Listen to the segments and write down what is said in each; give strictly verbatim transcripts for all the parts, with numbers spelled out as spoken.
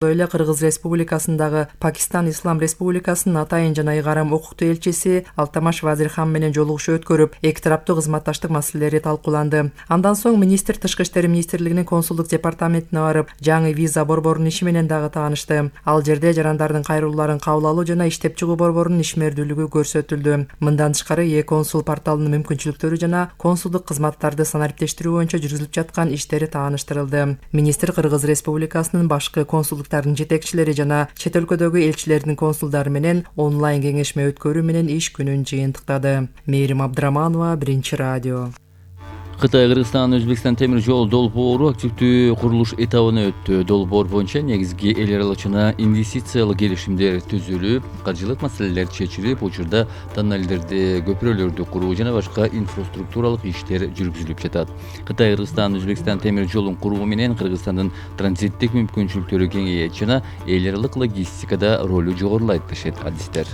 Эле Кыргыз Республикасындагы Пакистан Ислам Республикасынын атайын жана ыйгарым укуктуу элчиси Алтамаш Вазирхан менен жолугушуу өткөрүп, эки тараптуу кызматташтык маселелери талкууланды. Андан соң министр Тышкы иштер министрлигинин консулдук департаментине барып, жаңы виза борборунун иши менен дагы таанышты. Ал жерде жарандардын кайрылууларын кабыл алуу жана иштеп чыгуу борборунун ишмердүүлүгү көрсөтүлдү. Мындан тышкары e-консул порталынын мүмкүнчүлүктөрү жана консулдук кызматтарды санариптештирүү боюнча жүргүзүлүп жаткан иштери тааныштырылды. Министр Кыргыз Республикасынын башкы консулдук жетекчилери жана чет өлкөдөгү элчилердин консулдары менен онлайн кеңешме өткөрүү менен иш күнүн жыйынтыктады. Мээрим Абдыраманова, Биринчи радио. Кытай, Кыргызстан, Өзбекстан темир жол долбоору активдүү курулуш этабына өттү. Долбоор боюнча негизги эл аралык жана инвестициялык келишимдер түзүлүп, каржылык маселелер чечилип, учурда тоннелдерди, көпүрөлөрдү куруу жана башка инфраструктуралык иштер жүргүзүлүп жатат. Кытай, Кыргызстан, Өзбекстан темир жолун куруу менен Кыргызстандын транзиттик мүмкүнчүлүктөрү кеңейет жана эл аралык логистикада ролу жогорулайт дешет адистер.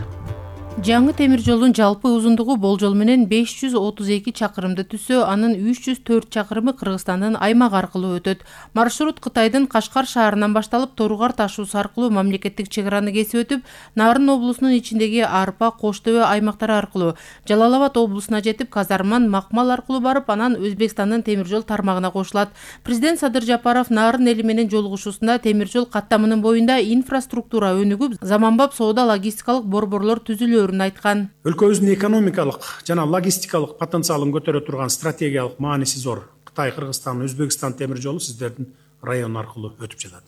Жаңы темир жолдун жалпы узундугу болжол менен беш жүз отуз эки чакырымды түзсө, анын үч жүз төрт чакырымы Кыргызстандын аймак аркылуу өтөт. Маршрут Кытайдын Кашкар шаарынан башталып, Торугар ташуусу аркылуу мамлекеттик чек араны кесип өтүп, Нарын облусунун ичиндеги Арпа, Кош Төбө аймактары аркылуу Жалал Абад облусуна жетип, Казарман, Макмал аркылуу барып, анан Өзбекстандын темир жол тармагына кошулат. Президент Садыр Жапаров Нарын эли менен жолугушуусунда темир жол каттамынын боюнда инфраструктура өнүгүп, заманбап соода логистикалык борборлор түзүлөөрүн айткан. Өлкөбүздүн экономикалык жана логистикалык потенциалын көтөрө турган стратегиялык мааниси зор Кытай, Кыргызстан, Өзбекстан темир жолу сиздердин район аркылуу өтүп жатат.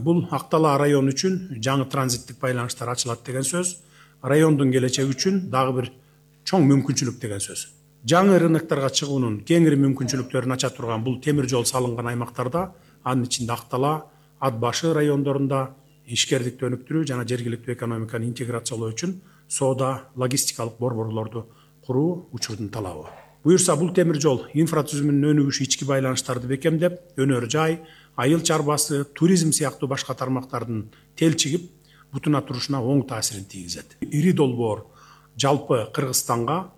Бул Актала району үчүн жаңы транзиттик байланыштар ачылат деген сөз, райондун келечеги үчүн дагы бир чоң мүмкүнчүлүк деген сөз. Жаңы рынокторго чыгуунун кеңири мүмкүнчүлүктөрүн ача турган бул темир жол салынган аймактарда, анын ичинде Актала, Ат башы райондорунда ишкердикти өнүктүрүү жана жергиликтүү экономиканы интеграциялоо үчүн соода логистикалык борборлорду куруу учурдун талабы. Буюрса, бул темир жол инфратүзүмүнүн өнүгүшү ички байланыштарды бекемдеп, өнөр жай, айыл чарбасы, туризм сыяктуу башка тармактардын телчигип, бутуна турушуна оң таасирин тийгизет. Ири долбоор жалпы Кыргызстанга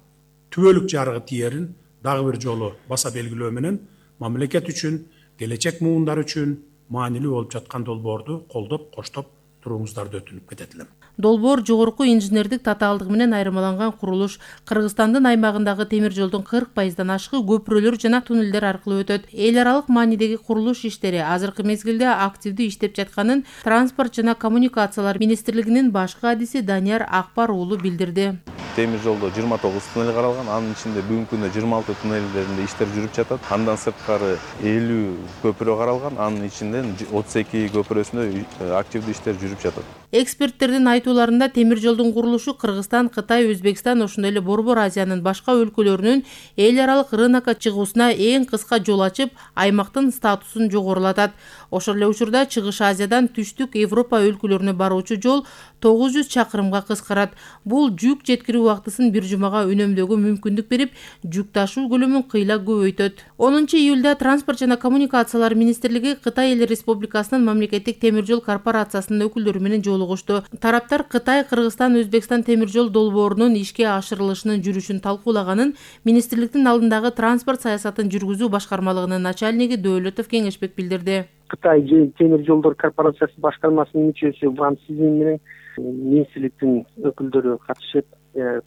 түбөлүк жарыгы тиерин дагы бир жолу баса белгилөө менен мамлекет үчүн, келечек муундар үчүн маанилүү болуп жаткан долбоорду колдоп, коштоп турууңуздарды өтүнүп кетет элем. Долбоор жогорку инженердик татаалдыгы менен айырмаланган курулуш Кыргызстандын аймагындагы темир жолдун кырк пайыздан ашыгы көпүрөлөр жана туннелдер аркылуу өтөт. Эл аралык маанидеги курулуш иштери азыркы мезгилде активдүү иштеп жатканын Транспорт жана коммуникациялар министрлигинин башкы адиси Данияр Акбар уулу билдирди. Темир жолдо жыйырма тогуз туннель каралган, анын ичинде бүгүнкү күндө жыйырма алты туннелдеринде иштер жүрүп жатат. Андан сырткары элүү көпүрө каралган, анын ичинен отуз эки көпүрөсүндө активдүү иштер жүрүп жатат. Эксперттердин айтууларында темир жолдун курулушу Кыргызстан, Кытай, Өзбекстан, ошондой эле Борбор Азиянын башка өлкөлөрүнүн эл аралык рынокко чыгуусуна эң кыска жол ачып, аймактын статусун жогорулатат. Ошол эле учурда Чыгыш Азиядан Түштүк Европа өлкөлөрүнө баруучу жол тогуз жүз чакырымга кыскарат. Бул жүк жеткирүү убактысын бир жумага үнөмдөөгө мүмкүндүк берип, жүк ташуу көлөмүн кыйла көбөйтөт. онунчу июлда Транспорт жана коммуникациялар министрлиги Кытай Эл Республикасынын мамлекеттик темир жол корпорациясынын өкүлдөрү менен жолугушту. Тараптар Кытай, Кыргызстан, Өзбекстан темир жол долбоорунун ишке ашырылышынын жүрүшүн талкуулаганын министрликтин алдындагы транспорт саясатын жүргүзүү башкармалыгынын начальниги Дөөлөтов Кеңешбек билдирди. Кытай темир жолдор корпорациясы башкармасынын мүчөсү Ван Сизин менен министрликтин өкүлдөрү катышып,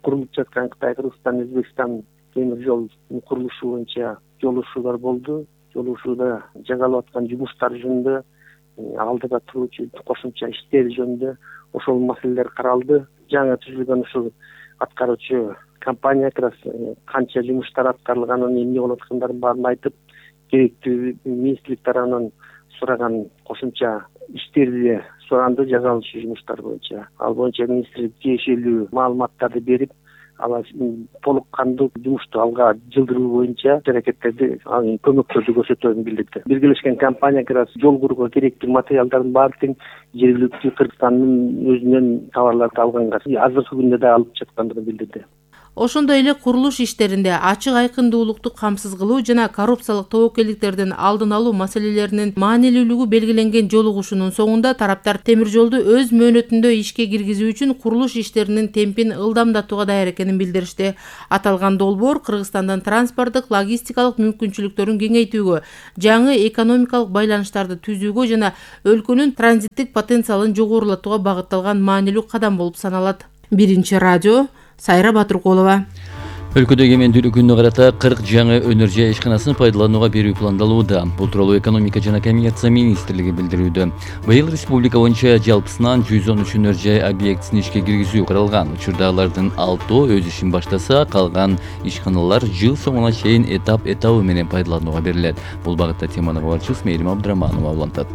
курулуп жаткан Кытай, Кыргызстан, Өзбекстан темир жол курулушу боюнча жолугушуулар болду. Жолугушууда жасалып аткан жумуштар жөнүндө, алдыда туруучу кошумча иштер жөнүндө ошол маселелер каралды. Жаңы түзүлгөн ушул аткаруучу компания канча жумуштар аткарылганын, эмне болуп аткандарын баарын айтып, керектүү министрлик тарабынан сураган кошумча иштерди суранды жасалышы жумуштар боюнча. Ал боюнча министрлик тиешелүү маалыматтарды берип, алар толук кандуу жумушту алга жылдыруу боюнча аракеттерди, көмөктөрдү көрсөтөөрүн билдирди. Биргелешкен компания жол курууга керектүү материалдардын баардыгын жергиликтүү Кыргызстандын өзүнөн товарларды алганга, азыркы күндө да алып жаткандыгын билдирди. Ошондой эле курулуш иштеринде ачык айкындуулукту камсыз кылуу жана коррупциялык тобокелдиктердин алдын алуу маселелеринин маанилүүлүгү белгиленген жолугушуунун соңунда тараптар темир жолду өз мөөнөтүндө ишке киргизүү үчүн курулуш иштеринин темпин ылдамдатууга даяр экенин билдиришти. Аталган долбоор Кыргызстандын транспорттук логистикалык мүмкүнчүлүктөрүн кеңейтүүгө, жаңы экономикалык байланыштарды түзүүгө жана өлкөнүн транзиттик потенциалын жогорулатууга багытталган маанилүү кадам болуп саналат. Биринчи радио, Сайра Батыркулова. Өлкөдө эгемендүүлүк күнүнө карата кырк жаңы өнөр жай ишканасын пайдаланууга берүү пландалууда. Бул тууралуу экономика жана коммерция министрлиги билдирүүдө. Быйыл республика боюнча жалпысынан жүз он үч өнөр жай объектисин ишке киргизүү каралган. Учурда алардын алтоо өз ишин баштаса, калган ишканалар жыл соңуна чейин этап этабы менен пайдаланууга берилет. Бул багытта теманы кабарчыбыз Мээрим Абдыраманова улантат.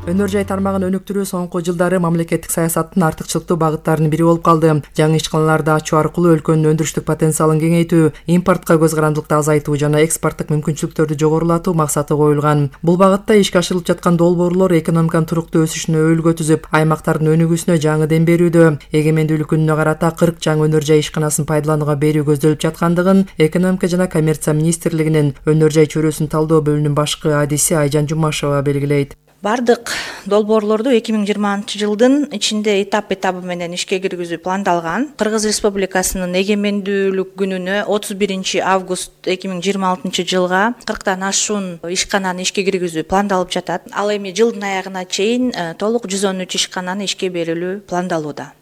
Өнөр жай тармагын өнүктүрүү соңку жылдары мамлекеттик саясаттын артыкчылыктуу багыттарынын бири болуп калды. Жаңы ишканаларды ачуу аркылуу өлкөнүн өндүрүштүк потенциалын кеңейтүү, импортко көз карандылыкты азайтуу жана экспорттук мүмкүнчүлүктөрдү жогорулатуу максаты коюлган. Бул багытта ишке ашырылып жаткан долбоорлор экономиканын туруктуу өсүшүнө өүлгө түзүп, аймактардын өнүгүүсүнө жаңы дем берүүдө. Эгемендүүлүк күнүнө карата кырк жаңы өнөр жай ишканасын пайдаланууга берүү көздөлүп жаткандыгын экономика жана коммерция министрлигинин өнөр жай чөйрөсүн талдоо бөлүмүнүн башкы адиси Айжан Жумашева белгилейт. Бардык долбоорлорду эки миң жыйырманчы жылдын ичинде этап этабы менен ишке киргизүү пландалган. Кыргыз Республикасынын эгемендүүлүк күнүнө отуз биринчи август эки миң жыйырма алтынчы жылга кырктан ашуун ишкананы ишке киргизүү пландалып жатат. Ал эми жылдын аягына чейин толук жүз он үч ишкананы ишке берилүү пландалууда.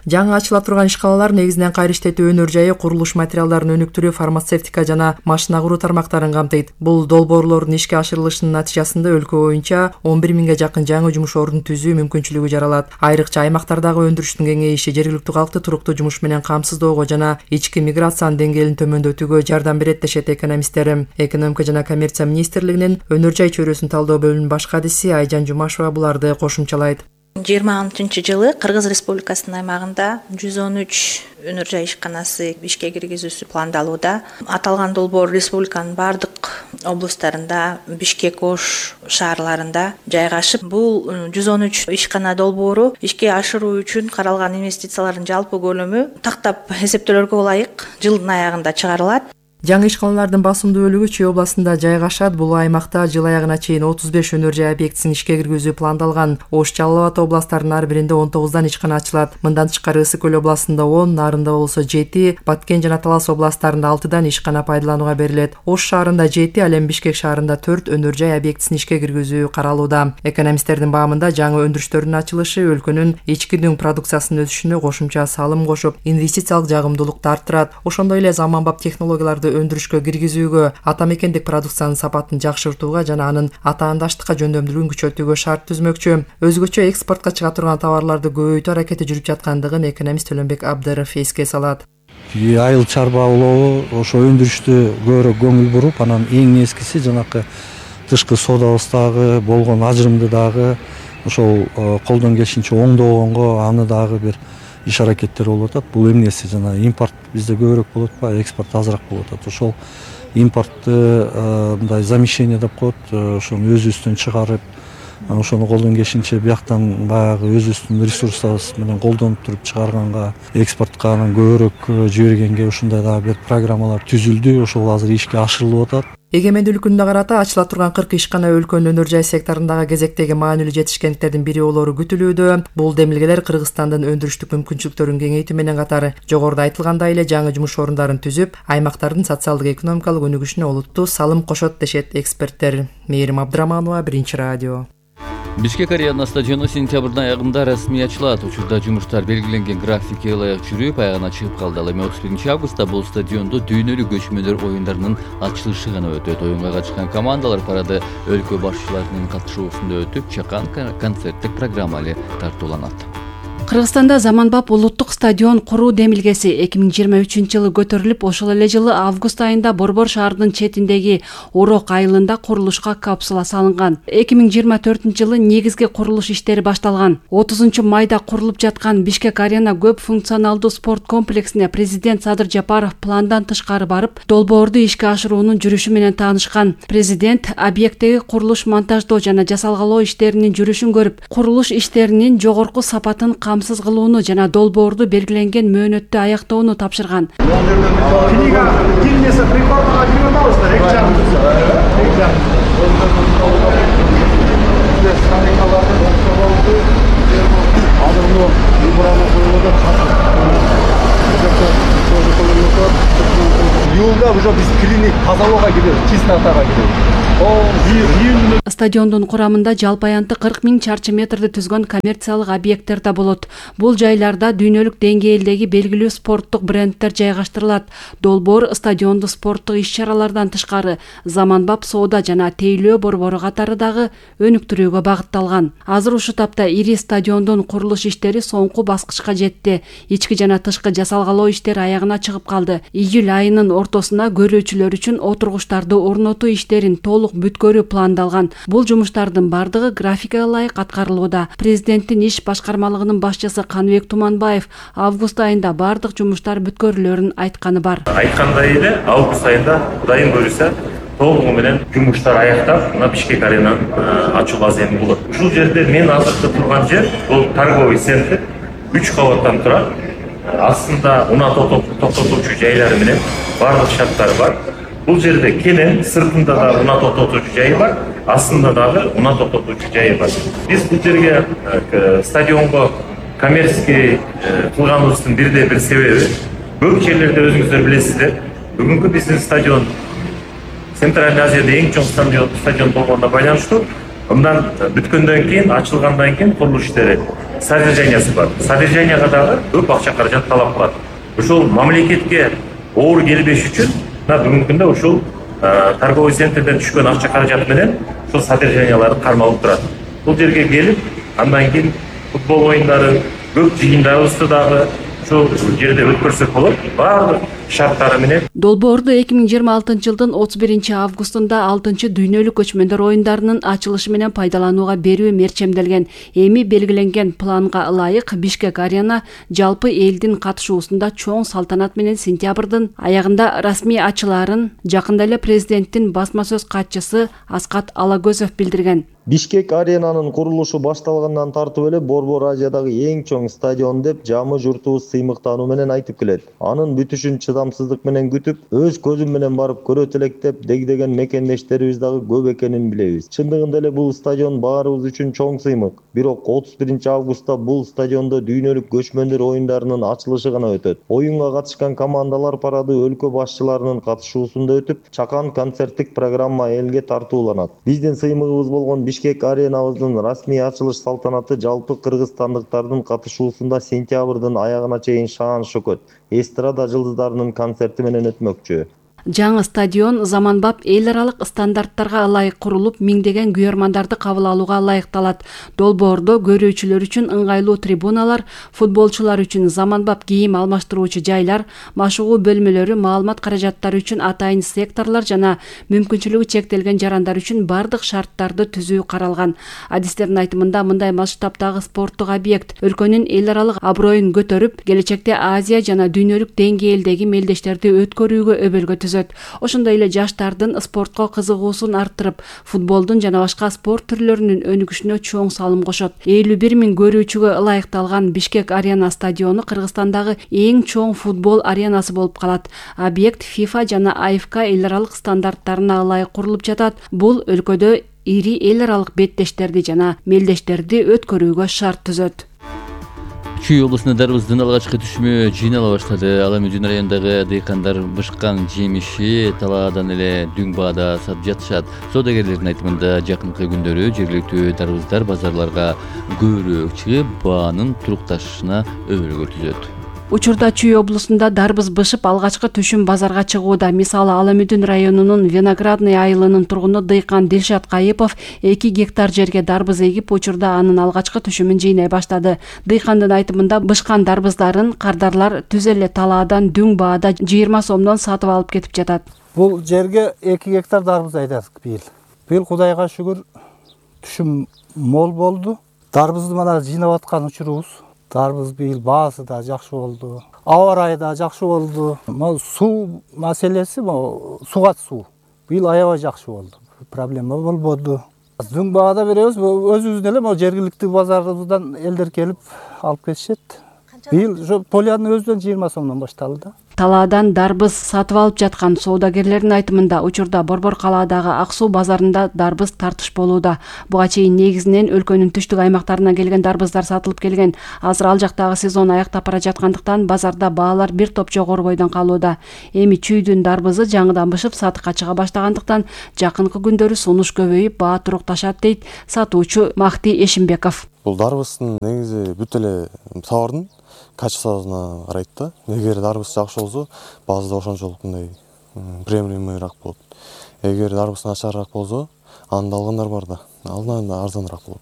Жаңы ачыла турган ишканалар негизинен кайра иштетүү өнөр жайы, курулуш материалдарын өнүктүрүү, фармацевтика жана машина куруу тармактарын камтыйт. Бул долбоорлордун ишке ашырылышынын натыйжасында өлкө боюнча он бир миңге жакын жаңы жумуш ордун түзүү мүмкүнчүлүгү жаралат. Айрыкча аймактардагы өндүрүштүн кеңейиши жергиликтүү калкты туруктуу жумуш менен камсыздоого жана ички миграциянын деңгээлин төмөндөтүүгө жардам берет дешет экономисттер. Экономика жана коммерция министрлигинин өнөр жай чөйрөсүн талдоо бөлүмүнүн башкы адиси Айжан Жумашева буларды кошумчалайт. жыйырма алтынчы жылы Кыргыз Республикасынын аймагында жүз он үч өнөр жай ишканасы ишке киргизүүсү пландалууда. Аталган долбоор республиканын бардык облустарында, Бишкек, Ош шаарларында жайгашып, бул жүз он үч ишкана долбоору ишке ашыруу үчүн каралган инвестициялардын жалпы көлөмү тактап эсептөөлөргө ылайык жылдын аягында чыгарылат. Жаңы ишканалардын басымдуу бөлүгү Чүй областында жайгашат. Бул аймакта жыл аягына чейин отуз беш өнөр жай объектисин ишке киргизүү пландалган. Ош, Жалал Абад областарынын ар биринде он тогуздан ишкана ачылат. Мындан тышкары Ысык көл областында он, Нарында болсо жети, Баткен жана Талас областарында алтыдан ишкана пайдаланууга берилет. Ош шаарында жети, ал эми Бишкек шаарында төрт өнөр жай объектисин ишке киргизүү каралууда. Экономисттердин баамында жаңы өндүрүштөрдүн ачылышы өлкөнүн ички дүң продукциясынын өсүшүнө кошумча салым кошуп, инвестициялык жагымдуулукту арттырат. Ошондой эле заманбап технологияларды өндүрүшкө киргизүүгө, ата мекендик продукциянын сапатын жакшыртууга жана анын атаандаштыкка жөндөмдүүлүгүн күчөтүүгө шарт түзмөкчү. Өзгөчө экспортко чыга турган товарларды көбөйтүү аракети жүрүп жаткандыгын экономист Төлөнбек Абдыров эске салат. Айыл чарба улоо ошо өндүрүштү көбүрөөк көңүл буруп, анан эң нескиси жанакы тышкы соодабыздагы болгон ажырымды дагы ошол колдон келишинче оңдогонго, аны дагы бир иш аракеттер болуп атат. Бул эмнеси жана импорт бизде көбүрөөк болуп атпайбы, экспорт азыраак болуп атат. Ошол импортты мындай замещение деп коет, ошону өзүбүздөн чыгарып, ошону колдон келишинче бияктан баягы өзүбүздүн ресурсубуз менен колдонуп туруп чыгарганга, экспортко анан көбүрөөк жибергенге ушундай дагы бир программалар түзүлдү. Ошол азыр ишке ашырылып атат. Эгемендүүлүк күнүнө карата ачыла турган кырк ишкана өлкөнүн өнөр жай секторундагы кезектеги маанилүү жетишкендиктердин бири болоору күтүлүүдө. Бул демилгелер Кыргызстандын өндүрүштүк мүмкүнчүлүктөрүн кеңейтүү менен катары жогоруда айтылгандай эле жаңы жумуш орундарын түзүп, аймактардын социалдык экономикалык өнүгүшүнө олуттуу салым кошот дешет эксперттер. Мээрим Абдыраманова, Биринчи радио. Бишкек арена стадиону сентябрдын аягында расмий ачылат. Учурда жумуштар белгиленген графикке ылайык жүрүп, аягына чыгып калды. Ал эми отуз биринчи августта бул стадиондо дүйнөлүк көчмөлөр оюндарынын ачылышы гана өтөт. Оюнга катышкан командалар парады өлкө башчыларынын катышуусунда өтүп, чакан концерттик программа эле тартууланат. Кыргызстанда заманбап улуттук стадион куруу демилгеси эки миң жыйырма үчүнчү жылы көтөрүлүп, ошол эле жылы август айында Борбор шаарынын четиндеги Урок айылында курулушка капсула салынган. эки миң жыйырма төртүнчү жылы негизги курулуш иштери башталган. отузунчу майда курулуп жаткан Бишкек арена көп функционалдуу спорт комплексине президент Садыр Жапаров пландан тышкары барып, долбоорду ишке ашыруунун жүрүшү менен таанышкан. Президент объекттеги курулуш монтаждоо жана жасалгалоо иштеринин жүрүшүн көрүп, курулуш иштеринин жогорку сапатын камсыз камсыз кылууну жана долбоорду белгиленген мөөнөттө аяктоону тапшырган. Книга Гиннеса рекордуна кирип атабыздар, эки жагыбыз. Июлда уже биз клиник тазалоого киребиз, чистотага киребиз. Стадиондун курамында жалпы аянты кырк миң чарчы метрди түзгөн коммерциялык объекттер да болот. Бул жайларда дүйнөлүк деңгээлдеги белгилүү спорттук бренддер жайгаштырылат. Долбоор стадионду спорттук иш-чаралардан тышкары заманбап соода жана тейлөө борбору катары дагы өнүктүрүүгө багытталган. Азыр ушул тапта ири стадиондун курулуш иштери соңку баскычка жетти. Ички жана тышкы жасалгалоо иштери аягына чыгып калды. Июль айынын ортосуна көрүүчүлөр үчүн отургучтарды орнотуу иштерин толук бүткөрүү пландалган. Бул жумуштардын бардыгы графикага ылайык аткарылууда. Президенттин иш башкармалыгынын башчысы Каныбек Туманбаев август айында бардык жумуштар бүткөрүлөрүн айтканы бар. Айткандай эле август айында Кудайым буйруса толугу менен жумуштар аяктап, мына Бишкек аренаны ачуу аземи болот. Ушул жерде мен азыркы турган жер бул торговый центр үч кабаттан турат. Астында унаа токтотуучу жайлары менен бардык шарттары бар. Бул жерде кенен сыртында да унаа токтотуучу жайы бар, астында дагы унаа токтотуучу жайы бар. Биз бул жерге стадионго коммерческий кылганыбыздын бирден бир себеби көп жерлерде өзүңүздөр билесиздер, бүгүнкү биздин стадион Центральный Азияда эң чоң стадион стадион болгонуна байланыштуу. Мындан бүткөндөн кийин, ачылгандан кийин курулуш иштери содержаниясы бар. Содержанияга дагы көп акча каражат талап кылат. Ушул мамлекетке оор келбеш үчүн бүгүнкү күндө ушул торговый центрден түшкөн акча каражат менен ушул содержанияларды кармалып турат. Бул жерге келип, андан кийин футбол оюндары, көп жыйындарыбызды дагы ушул жерде өткөрсөк болот. Баардык шарттары менен. Долбоорду эки миң жыйырма алтынчы жылдын отуз биринчи августунда алтынчы дүйнөлүк көчмөндөр оюндарынын ачылышы менен пайдаланууга берүү мерчемделген. Эми белгиленген планга ылайык Бишкек арена жалпы элдин катышуусунда чоң салтанат менен сентябрдын аягында расмий ачылаарын жакында эле президенттин басма сөз катчысы Аскат Алагөзов билдирген. Бишкек аренанын курулушу башталгандан тартып эле Борбор Азиядагы эң чоң стадион деп жамы журтубуз сыймыктануу менен айтып келет. Анын бүтүшүн чыдамсыздык менен күтүп, өз көзүм менен барып көрөт элек деп дегдеген мекендештерибиз дагы көп экенин билебиз. Чындыгында эле бул стадион баарыбыз үчүн чоң сыймык. Бирок отуз биринчи августта бул стадиондо дүйнөлүк көчмөндөр оюндарынын ачылышы гана өтөт. Оюнга катышкан командалар парады өлкө башчыларынын катышуусунда өтүп, чакан концерттик программа элге тартууланат. Биздин сыймыгыбыз болгон Бишкек аренабыздын расмий ачылыш салтанаты жалпы кыргызстандыктардын катышуусунда сентябрдын аягына чейин шаан шөкөт эстрада жылдыздарынын концерти менен өтмөкчү. Жаңы стадион заманбап эл аралык стандарттарга ылайык курулуп, миңдеген күйөрмандарды кабыл алууга ылайыкталат. Долбоордо көрүүчүлөр үчүн ыңгайлуу трибуналар, футболчулар үчүн заманбап кийим алмаштыруучу жайлар, машыгуу бөлмөлөрү, маалымат каражаттары үчүн атайын секторлор жана мүмкүнчүлүгү чектелген жарандар үчүн бардык шарттарды түзүү каралган. Адистердин айтымында мындай масштабтагы спорттук объект өлкөнүн эл аралык аброюн көтөрүп, келечекте Азия жана дүйнөлүк деңгээлдеги мелдештерди өткөрүүгө өбөлгө түзөт. Ошондой эле жаштардын спортко кызыгуусун арттырып, футболдун жана башка спорт түрлөрүнүн өнүгүшүнө чоң салым кошот. элүү бир миң көрүүчүгө ылайыкталган Бишкек арена стадиону Кыргызстандагы эң чоң футбол аренасы болуп калат. Объект FIFA жана А Ф К эл аралык стандарттарына ылайык курулуп жатат. Бул өлкөдө ири эл аралык беттештерди жана мелдештерди өткөрүүгө шарт түзөт. Чүй облусунда дарбыздын алгачкы түшүмү жыйнала баштады. Ал эми Жүн районундагы дыйкандар бышкан жемиши талаадан эле дүң баада сатып жатышат. Соодагерлердин айтымында жакынкы күндөрү жергиликтүү дарбыздар базарларга көбүрөөк чыгып, баанын турукташышына өбөлгө түзөт. Учурда Чүй облусунда дарбыз бышып алгачкы түшүм базарга чыгууда. Мисалы Ала Мүдүн районунун Виноградный айылынын тургуну дыйкан Дилшат Кайыпов эки гектар жерге дарбыз эгип, учурда анын алгачкы түшүмүн жыйнай баштады. Дыйкандын айтымында бышкан дарбыздарын кардарлар түз эле талаадан дүң баада жыйырма сомдон сатып алып кетип жатат. Бул жерге эки гектар дарбыз айдадык быйыл. Быйыл Кудайга шүгүр түшүм мол болду. Дарбызды мана жыйнап аткан учурубуз. Дарбыз быйыл баасы да жакшы болду. Аба ырайы да жакшы болду. Могу суу маселеси, могу сугат суу. Быйыл аябай жакшы болду. Проблема болбоду. Дүң баада беребиз, өзүбүздүн эле могу жергиликтүү базарыбыздан элдер келип алып кетишет. Быйыл ошо полянын өзүнөн жыйырма сомдон башталды да. Талаадан дарбыз сатып алып жаткан соодагерлердин айтымында учурда Борбор калаадагы Ак суу базарында дарбыз тартыш болууда. Буга чейин негизинен өлкөнүн түштүк аймактарынан келген дарбыздар сатылып келген. Азыр ал жактагы сезон аяктап бара жаткандыктан базарда баалар бир топ жогору бойдон калууда. Эми чүйдүн дарбызы жаңыдан бышып сатыкка чыга баштагандыктан жакынкы күндөрү сунуш көбөйүп баа турукташат дейт сатуучу Махти Эшимбеков. Бул дарбыздын негизи бүт эле товардын качествосуна карайт да. Эгер дарбыз жакшы болсо, баазда ошончолук мындай приемлемыйраак болот. Эгер дарбыз начарыраак болсо, аны алгандар бар да. Алдан да арзаныраак болот.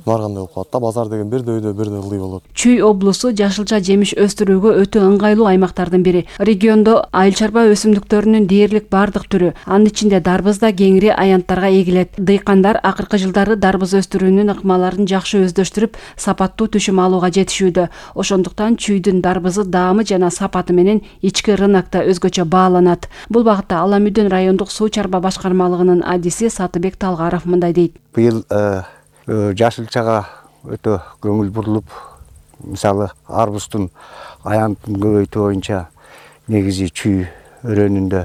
Баргандай болуп калат да, базар деген бирде үйдө бирде ылдый болот. Чүй облусу жашылча жемиш өстүрүүгө өтө ыңгайлуу аймактардын бири. Региондо айыл чарба өсүмдүктөрүнүн дээрлик бардык түрү, анын ичинде дарбыз да кеңири аянттарга эгилет. Дыйкандар акыркы жылдары дарбыз өстүрүүнүн ыкмаларын жакшы өздөштүрүп, сапаттуу түшүм алууга жетишүүдө. Ошондуктан чүйдүн дарбызы даамы жана сапаты менен ички рынокто өзгөчө бааланат. Бул багытта Ала Мүдөн райондук суу чарба башкармалыгынын адиси Сатыбек Талгаров мындай дейт. Быйыл жашылчага өтө көңүл бурулуп, мисалы арбуздун аянтын көбөйтүү боюнча негизи чүй өрөөнүндө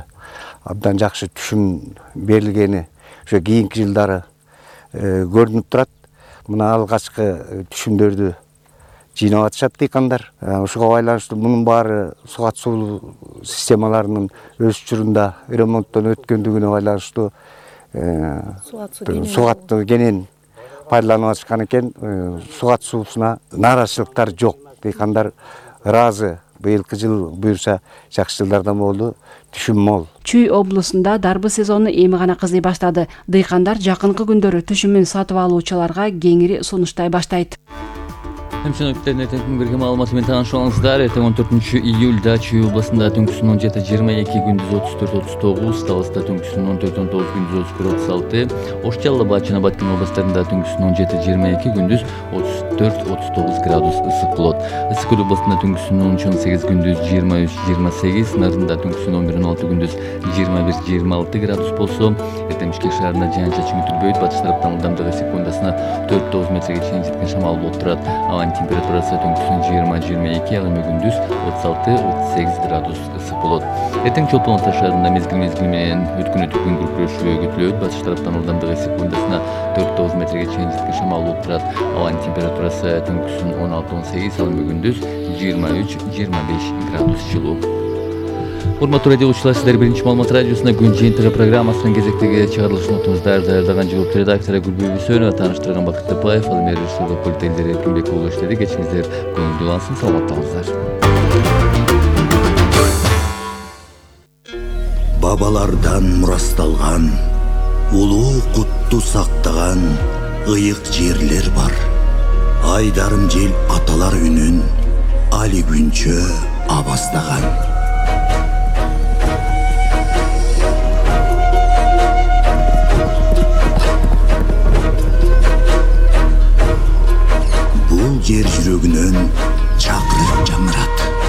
абдан жакшы түшүм берилгени ошо кийинки жылдары көрүнүп турат. Мына алгачкы түшүмдөрдү жыйнап атышат дыйкандар. Ошого байланыштуу мунун баары сугат суу системаларынын өз учурунда ремонттон өткөндүгүнө байланыштуу сугаттуу кенен пайдаланып атышкан экен. Сугат суусуна нааразычылыктар жок. Дыйкандар ыраазы. Быйылкы жыл буюрса жакшы жылдардан болду, түшүм мол. Чүй облусунда дарбыз сезону эми гана кызый баштады. Дыйкандар жакынкы күндөрү түшүмүн сатып алуучуларга кеңири сунуштай баштайт. Хемчиновтерне теңkin берген маалыматы менен тааныша алыңыздар. Эртең он төртүнчү июлда Чүй областында түнкүсүн он жети жыйырма эки, күндүз отуз төрт отуз тогуз, Таласта түнкүсүн он төрт он тогуз, күндүз отуз бир отуз алты, Ош Жалал Абад жана Баткен областарында түнкүсүн он жети жыйырма эки, күндүз отуз төрт отуз тогуз градус ысык болот. Ысык көл областында түнкүсүн он үч он сегиз, күндүз жыйырма үч жыйырма сегиз, Нарында түнкүсүн он бир он алты, күндүз жыйырма бир жыйырма алты градус болсо, эртең Бишкек шаарында жаан-чачын күтүлбөйт. Батыш тараптан ылдамдыгы секундасына төрт тогуз метрге чейин жеткен шамал болуп турат. Абанын температурасы түнкүсүн жыйырма жыйырма эки, ал эми күндүз отуз алты отуз сегиз градус ысык болот. Эртең Чолпон Ата шаарында мезгил мезгил менен өткөн өтүп күн күркүрөшү күтүлөт. Батыш тараптан ылдамдыгы секундасына төрт тогуз метрге чейин жеткен шамал болуп турат. Абанын температурасы түнкүсүн он алты он сегиз, ал эми күндүз жыйырма үч жыйырма беш градус жылуу. Урматтуу радио угуучулар, сиздер биринчи маалымат радиосуна күн жыйынтыгы программасынын кезектеги чыгарылышын отуңуздар. Даярдаган жогорку редактору Гүлбүй Бүйсөнова, тааныштырган Бакыт Тапаев, ал эми режиссерлук пульт Элдер Эркинбеков болуп иштеди. Кечиңиздер көңүлдүү улансын, саламатта болуңуздар. Бабалардан мурасталган, улуу кутту сактаган ыйык жерлер бар. Айдарым жел аталар үнүн али күнчө абастаган. Бул жер жүрөгүнөн чакырып